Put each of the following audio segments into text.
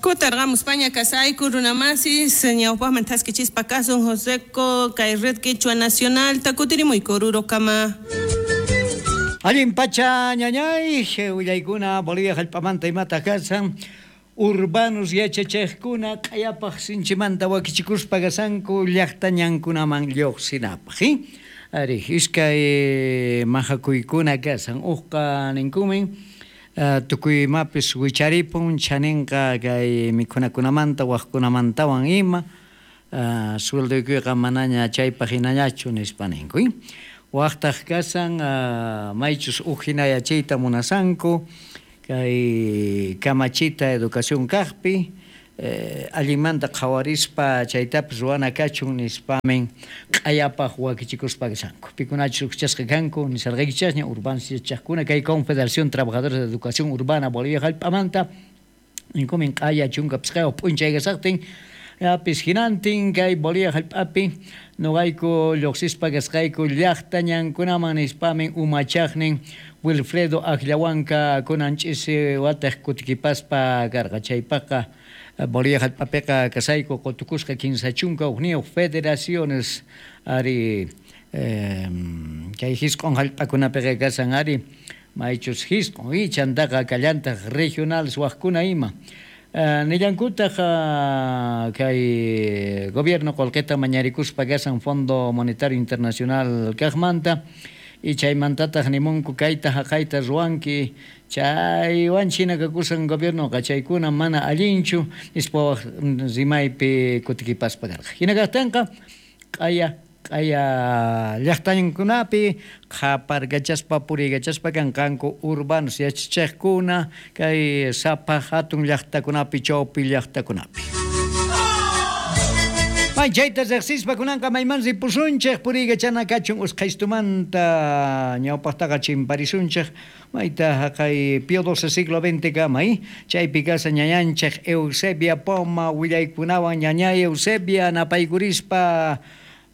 Kutarqamuspaña kasayku runamasis ñawpaqman thaskichispa kasun Joseco kay Red Quechua Nacional takutirimuyku Orurokama. Allin pacha ñañay willaykuna Bolivia hallp'amanta imata kasan urbanos yachachiqkuna q'ayapaq sinchimanta wakichikuspa kasanku llaqta ñankunaman lluqsinapaq ari iskay mahakuykuna kasan uqqa ninkumin tukuy imapis wicharipun chaninqa kay mikhunakunamanta waqkunamantawan ima sueldoykuyqa manaña chaypaq hinañachu nispa ninku waqtaq kasan maychus uj hina yachayta munasanku kay kamachita educación kaqpi allinmanta qhawarispa chaytapis ruwana kachun nispamin q'ayapaq wakichikuspa kashanku pikunachus ujchasqa kanku nisarqaykichasña urbanos yachaqkuna kay Confederación Trabajadores de Educación Urbana Bolivia hallp'amanta ninkumin q'aya 15 p'unchay kasaqtin apis hinantin kay Bolivia hallp'api noqayku lluqsispa kasqayku llaqta ñankunaman nispamin umachaqnin Wilfredo Akllawanka kunan ch'isi wataq kutikipaspa karqa chaypaqa Bolivia hallp'apiqa kasayku qutukusqa 31 federaciones ari kay hisq'un hallp'akunapiqa kasan ari maychus hisq'un y chantaqa kallantaq regionales waqkuna ima nillankutaq kay gobierno qullqita mañarikuspa kasan Fondo Monetario Internacional kaqmanta y chaymantataq nimunku kayta haqayta ruwanki chaywan china kakusan gobiernoqa chaykuna mana allinchu nispa waq rimaypi kutikipaspa karqa hina kaqtinqa q'aya q'aya llaqtañankunapi qhaparkachaspa puriykachaspa kanqanku urbanos yachachiqkuna kay sapa hatun llaqtakunapi chawpi llaqtakunapi. May chayta riqsispa kunanqa mayman ripusunchik puriykachana kachun usqhaystumanta ñawpaqtaqa chimparisunchik mayta haqay Pío XII siglo XX kama chaypi kasa ñañanchik Eusebia Poma willaykunawan ñañay Eusebia napaykurispa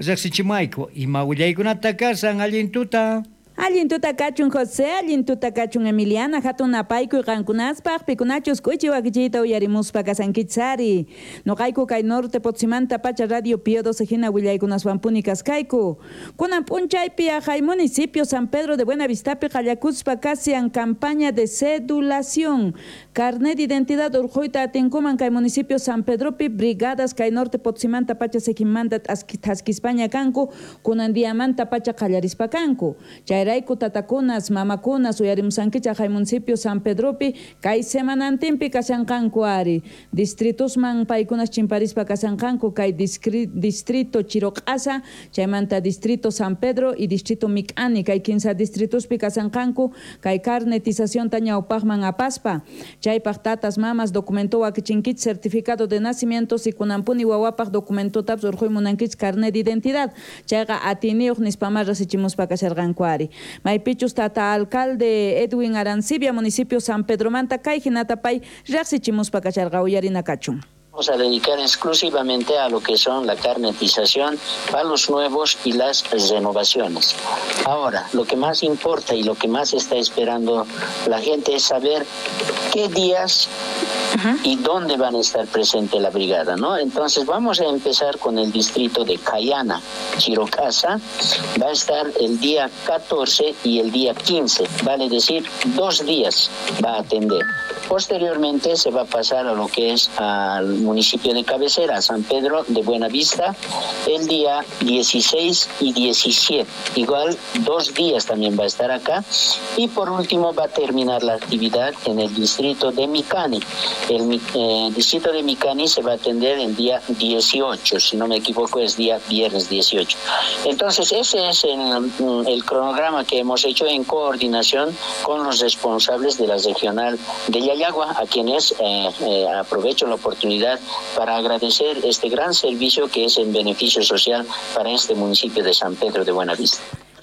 riqsichimayku ima willaykunata kasan allin tuta. Allin tuta kachun José, allin tuta kachun Emiliana, hatun napaykuy qankunaspaq, pikunachus k'uchi wakichiyta uyarimuspa kasankichari. Noqayku kay Norte Potsimanta pacha Radio Pío XII hina willaykunaswanpuni kaskayku. Kunan p'unchaypi aqhay municipio San Pedro de Buenavistapi qallakuspa kasian campaña de cedulación. Carnet de identidad urquyta atinkuman kay municipio San Pedropi brigadas kay Norte Potsimanta pacha sejinmanta thaskispaña kanku, kunan diamanta pacha qallarispa kanku. Chay Chayrayku tatakunas, mamakunas, uyarimusankichaq hay municipio San Pedropi, kay semanantinpi kashanqanku ari. Distritusman paykunas chimparispa kashanqanku kay distrito Chiroq'asa, chaymanta distrito San Pedro y distrito Mic'ani, kay 15 distrituspi kashanqanku kay carnetización ñawpaqman apaspa. Chaypaq tatas, mamas, documento wakichinkichik certificado de nacimiento, si kunanpuni wawapaq documentotapis urquy munankichik carnet de identidad. Chayqa atiniyuq nispama rasichimuspa kasharqanku ari. Maypichus tata alcalde Edwin Arancibia, municipio San Pedromanta, kay hinata pay riqsichimuspa kasharqa uyarina kachun. Vamos a dedicar exclusivamente a lo que son la carnetización, a los nuevos y las renovaciones. Ahora, lo que más importa y lo que más está esperando la gente es saber qué días y dónde van a estar presente la brigada, ¿no? Entonces vamos a empezar con el distrito de Cayana, Chirocasa, va a estar el día 14 y el día 15, vale decir, 2 días va a atender. Posteriormente se va a pasar a lo que es al municipio de cabecera, San Pedro de Buenavista, el día 16 y 17. Igual 2 días también va a estar acá. Y por último va a terminar la actividad en el distrito de Micani. El distrito de Micani se va a atender el día 18, si no me equivoco es día viernes 18. Entonces ese es el cronograma que hemos hecho en coordinación con los responsables de la regional de Llallagua, a quienes aprovecho la oportunidad para agradecer este gran servicio que es en beneficio social para este municipio de San Pedro de Buenavista.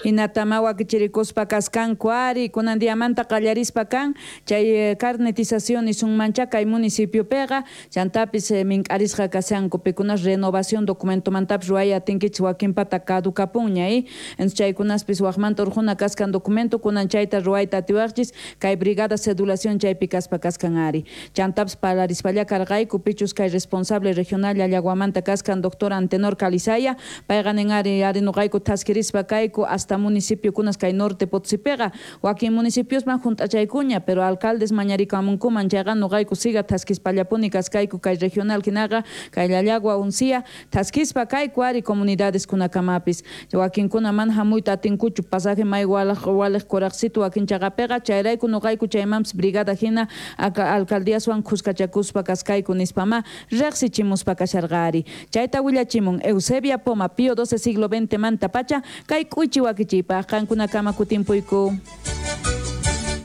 Hinatama wakichirikuspa kaskanku ari kunan diamanta qallarispa kan chay carnetización nisunmancha kay municipiopiqa chantapis mink'arisqa kashanku pikunas renovación documentomantapis ruway atinkichis wakinpata caducapunña chaykunaspis waqmanta urquna kaskan documento kunan chayta ruwayta atiwaqchis kay brigada cedulación chaypi kaspa kaskan ari chantapis parlarispalla karqayku pichus kay responsable regional Llallaguamanta kaskan doctor Antenor Calizaya payqa nin ari ari nuqayku thaskirispa kayku hasta municipio kunas kay norte Potosipiqa wakin municipiosman junt'achaykuña pero alcaldes mañarikamunkuman chayqa nuqayku siga thaskispallapuni kaskayku kay regional hinaqa kay Llallagua uncia thaskispa kayku ari comunidades kunakamapis wakinkuna mana hamuyta atinkuchu pasaje may walej kuraqsitu wakin chaqapiqa chayrayku nuqayku chaymanpis brigada hina alcaldíaswan khuskachakuspa kaskayku nispama riqsichimuspa kasharqa ari chayta willachimun Eusebia Poma Pío XII siglo XX manta pacha kay k'uchi wakichiypaq qankunakama kutimpuyku.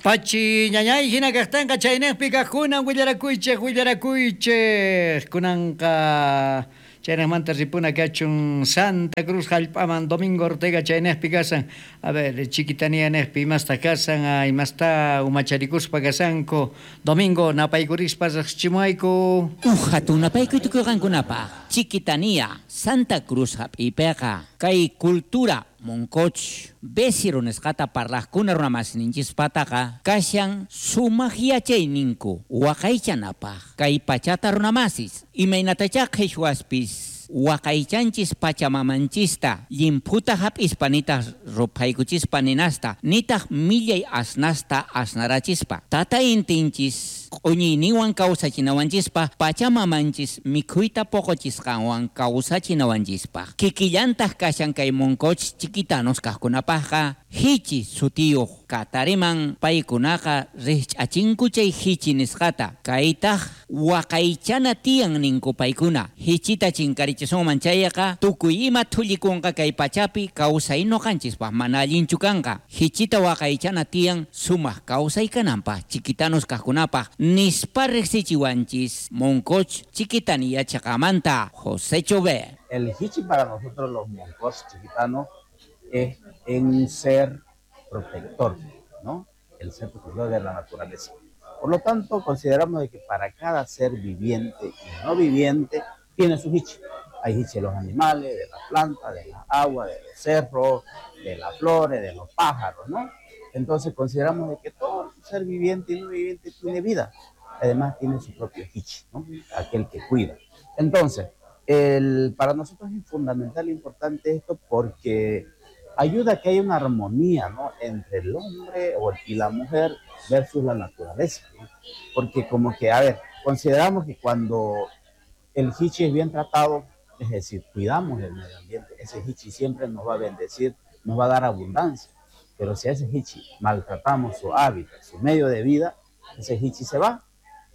Pachi ñañay hina kaqtanqa chaynejpi kaqkunan willarakuychej willarakuychej kunanqa chaynejmanta ripuna kachun Santa Cruz hallp'aman Domingo Ortega chaynejpi kasan a ver Chiquitanía nejpi imasta kasan imasta umacharikuspa kasanku Domingo napaykurispa riqsichimuayku. Uj hatun napaykuy tukuyqankunapaq Chiquitanía Santa Cruz hap'iypiqa kay cultura Moncoch Besiro nisqata parlaqkuna runamasninchispataqa kashan sumaq yachayninku waqaychanapaq kay pachata runamasis imaynatachá qhichwaspis waqaychanchis pachamamanchista llimphuta hap'ispa nitaq ruphaykuchispa ninasta nitaq millay asnasta asnarachispa tata intinchis q'uñiyninwan kawsachinawanchispa pachamamanchis mikhuyta poqochisqanwan kawsachinawanchispaq kikillantaq kashan kay Moncoch chiquitanos kaqkunapaqqa hichi sutiyuq katariman paykunaqa riqch'achinku chay hichi nisqata kaytaq waqaychana tiyan ninku paykuna hichita chinkarichisunman chayqa tukuy ima thullikunqa kay pachapi kawsay nuqanchispaq mana allinchu kanqa hichita waqaychana tiyan sumaq kawsay kananpaq chiquitanos kaqkunapaq nispa riqsichiwanchis Moncoch Chiquitanía chaqamanta José Chové. El hichi para nosotros los Moncoch chiquitanos es un ser protector, ¿no? El ser protector de la naturaleza. Por lo tanto, consideramos de que para cada ser viviente y no viviente tiene su hichi. Hay hichi de los animales, de las plantas, de las aguas, de los cerros, de las flores, de los pájaros, ¿no? Entonces consideramos de que todo ser viviente y no viviente tiene vida. Además tiene su propio hichi, ¿no? Aquel que cuida. Entonces, para nosotros es fundamental e importante esto porque ayuda a que haya una armonía, ¿no? Entre el hombre y la mujer versus la naturaleza, ¿no? Porque como que, a ver, consideramos que cuando el hichi es bien tratado, es decir, cuidamos el medio ambiente, ese hichi siempre nos va a bendecir, nos va a dar abundancia. Pero si a ese hichi maltratamos su hábitat, su medio de vida, ese hichi se va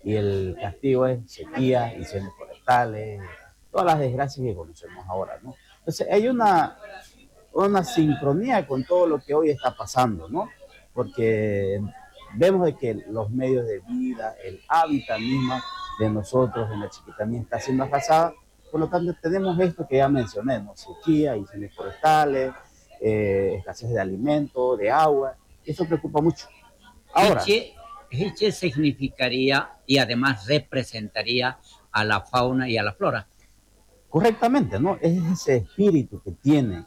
y el castigo es sequía, incendios forestales, todas las desgracias que conocemos ahora, ¿no? Entonces hay una sincronía con todo lo que hoy está pasando, ¿no? Porque vemos de que los medios de vida, el hábitat mismo de nosotros en la Chiquitanía está siendo arrasada, por lo tanto tenemos esto que ya mencioné, ¿no? Sequía, incendios forestales, escasez de alimentos, de agua, eso preocupa mucho. Ahora, Hiche significaría y además representaría a la fauna y a la flora. Correctamente, ¿no? Es ese espíritu que tienen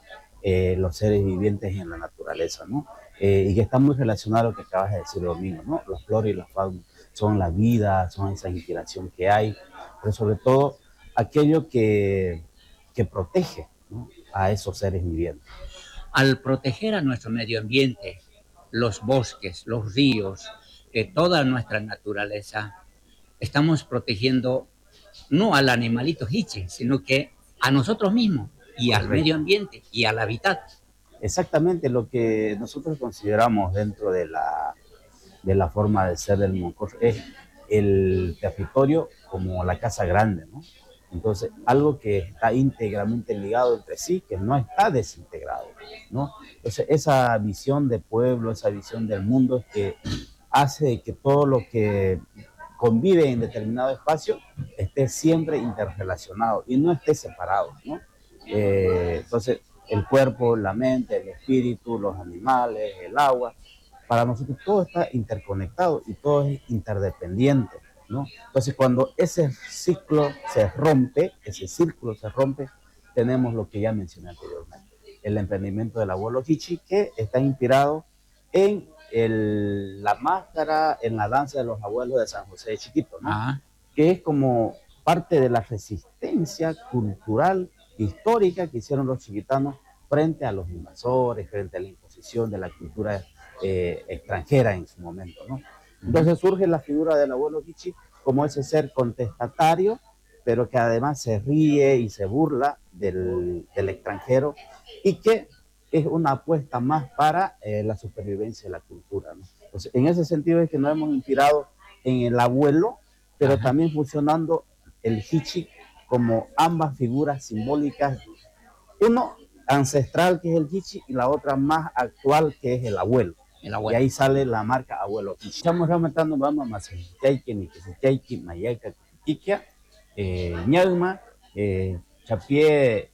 los seres vivientes en la naturaleza, ¿no? Y que está muy relacionado a lo que acabas de decir, Domingo, ¿no? La flora y la fauna son la vida, son esa inspiración que hay, pero sobre todo aquello que protege, ¿no? A esos seres vivientes. Al proteger a nuestro medio ambiente, los bosques, los ríos, toda nuestra naturaleza, estamos protegiendo no al animalito hiche, sino que a nosotros mismos y al medio ambiente y al hábitat. Exactamente lo que nosotros consideramos dentro de la forma de ser del Moncoch es el territorio como la casa grande, ¿no? Entonces, algo que está íntegramente ligado entre sí, que no está desintegrado, ¿no? Entonces, esa visión de pueblo, esa visión del mundo es que hace que todo lo que convive en determinado espacio esté siempre interrelacionado y no esté separado, ¿no? Entonces, el cuerpo, la mente, el espíritu, espíritu, los animales, el agua. Para nosotros todo está interconectado y todo es interdependiente, ¿no? Entonces, cuando ese ciclo se rompe, ese círculo se rompe, tenemos lo que ya mencioné anteriormente, el emprendimiento del abuelo Hichi, que está inspirado en la máscara, en la danza de los abuelos de San José de Chiquito, ¿no? Que es como parte de la resistencia cultural histórica que hicieron los chiquitanos frente a los invasores, frente a la imposición de la cultura extranjera en su momento, ¿no? Entonces surge la figura del abuelo Hichi como ese ser contestatario, pero que además se ríe y se burla del extranjero y que es una apuesta más para la supervivencia de la cultura, ¿no? Entonces, en ese sentido es que nos hemos inspirado en el abuelo, pero también fusionando el Hichi como ambas figuras simbólicas, uno ancestral que es el Hichi y la otra más actual que es el abuelo. El abuelo. Y ahí sale la marca Abuelo Hichi. Estamos aumentando, vamos a más Mayaca, Kikia, Ñalma, Chapié,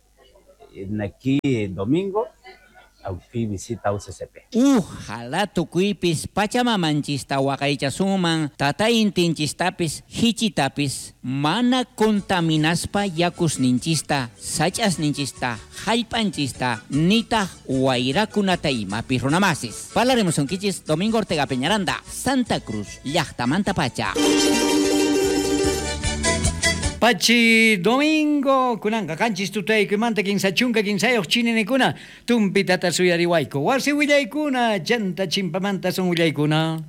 aquí domingo, aquí visita UCCP. Ojalá tukuypis pachamamanchista waqaychasuman, tataintinchistapis, hichitapis, mana contaminaspa yakusninchista, sach'asninchista, jallp'anchista, nitaq wayrakunata imapis runamasis. Parlaremos unkichis Domingo Ortega Peñaranda, Santa Cruz, llaqtamanta pacha. Pachi Domingo, kunanqa qanchis tutaykuymanta kinsa chunka kinsayuq chinenikuna, tumpitata suyariwayku, wasi willaykuna, chanta chimpamanta son willaykuna.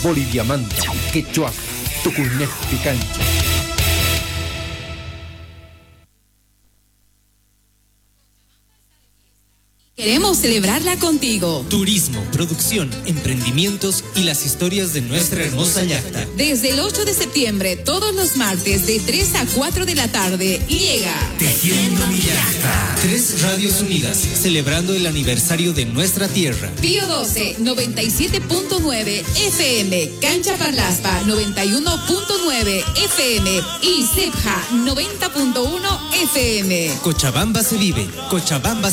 Boliviamanta, quechua, tukuynejpi cancha. Queremos celebrarla contigo. Turismo, producción, emprendimientos y las historias de nuestra hermosa llaqta. Desde el 8 de septiembre, todos los martes de 3 a 4 de la tarde, llega Tejiendo mi Llaqta. 3 Radios Unidas, celebrando el aniversario de nuestra tierra. Pío 12, 97.9 FM, Cancha Parlaspa, 91.9 FM y Cepja, 90.1 FM. Cochabamba se vive, Cochabamba